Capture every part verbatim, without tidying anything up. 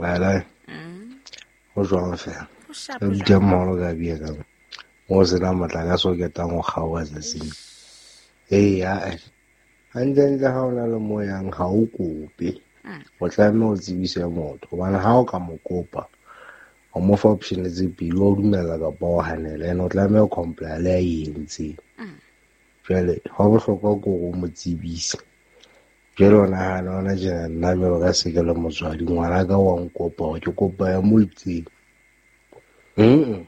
Lai lai. Mm. Ho jwang fela? Ho sharp Re jwang? butla moholo ka bia ka mo. Mo se na motlakase o ketang ho kgaoha tsatsing. Ee, ae. Hantlentle ha o na le mo yang ha o kope. Mm. O tlameha o tsebise motho hobane ha o ka mo kopa o mo fa option tse pedi, wa o dumella kapa o hanela, and o tlameha ho comply le a e entseng. Mm. Jwale hwa bohlokwa ke hore o mo tsebise. Jwale o nahana hona tjena nna jwalo ka se ke le motswadi, ngwanaka wa nkopa hore ke kopa ya mo itseng. Mm-mm.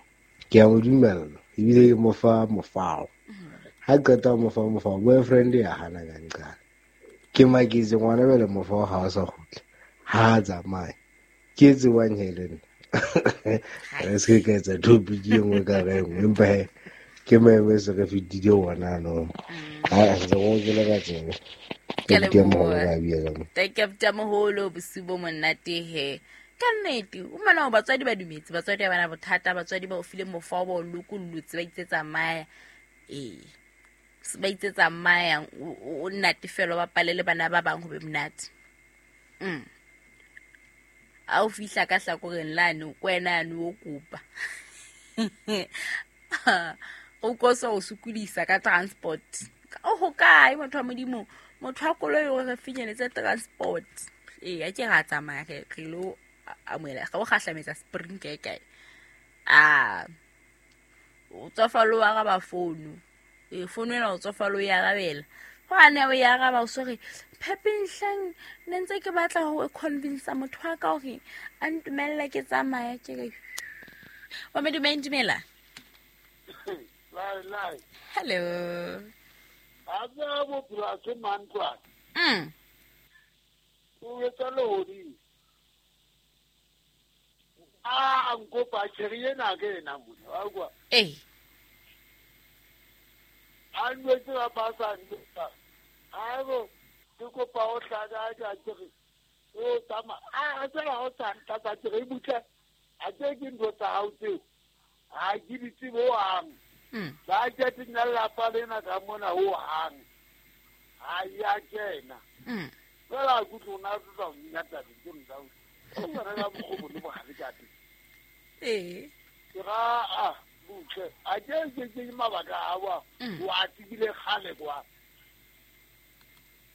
Ke a mo dumella ebile ke mo fa mofao. Ha qeta ho mo fa mofao, boyfriend ya hana ka nqane. Ke maketse ngwana jwale mofao ha o sa kgutla. Ha a tsamaye. Ke e tsebang he le nna. Re se ke ka etsa topic e nngwe ka re e nngwe, empa he ke maemo e se re fetile ona no. Ha ntse go ke le ka tsebe. Ke a Ke moholo leboha. ka bia ka mo. Thank you abuti moholo, bosiu bo monate he. Ka nnete, o mona hore batswadi ba dumetse, batswadi ha bana bothata, batswadi ba o file mofao, ba o lokollotse, ba itse tsamaya. Ee. Ba itse tsamaya, o, o, o natefelwa, ba bapale le bana ba bang ho be monate. Mm. Ha o fihla ka hlakoreng lane, ko wena yane o kopa. O kosa o sokodisa ka transport. O hokae motho wa Modimo? Motho wa koloi o re finyeletse transport. Ee, a ke ra tsamaya re, re lo amohela, re o kgahlametsa Spring kae kae. Ah, o tsofala o araba founu. Ee, founu ena o tsofala o e arabela. Hobane o e araba o so re, Phepeng ne ntse ke batla ho convince motho wa ka hore a ntumelle ke tsamaya, ke re, wa Modimo, dumela. Lai, lai. Hello. Ha tseba bophelo ha se mantlwane. Mm. O etsa lehodimo. A nkopa tjhere ena ke ena mona, wa utlwa? Ee. A nwetse ba ba sa nwetsa. Haebo, ke kopa o hlaka ka tjhere. O tsamaya. A, a tsela o sa ntlatsa tjhere e butle. A tse ke ntho tsa hao tseo. Ha ke di tsebe hohang. Mm. Ba ke tsenya lelapa lena ka mona hohang. Ha ya kena. Mm. Fela a kutlwe o na tla o nyatsa dintho tsa hao. O tswana ka mokgwa o le bohale ka teng. Ee. Ke ra, ah, butle. A ke ke ke mabaka a wa. Mm. O a tsebile kgale kwa.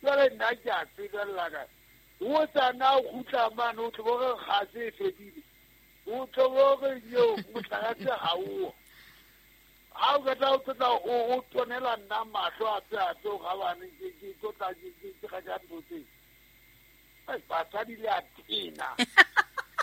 Jwale nna ke a tsebella ka. O tsana o kgutla mane, o tlo bo re kgase e fedile. O tlo bo re eo motlakase ha o. Ha o qeta o tla o, o tonela nna mahlo a tse a tse gabane, ke, ke tlo tla ke, ke, ke ga ja ntho tse. Ai, basadi le a tena.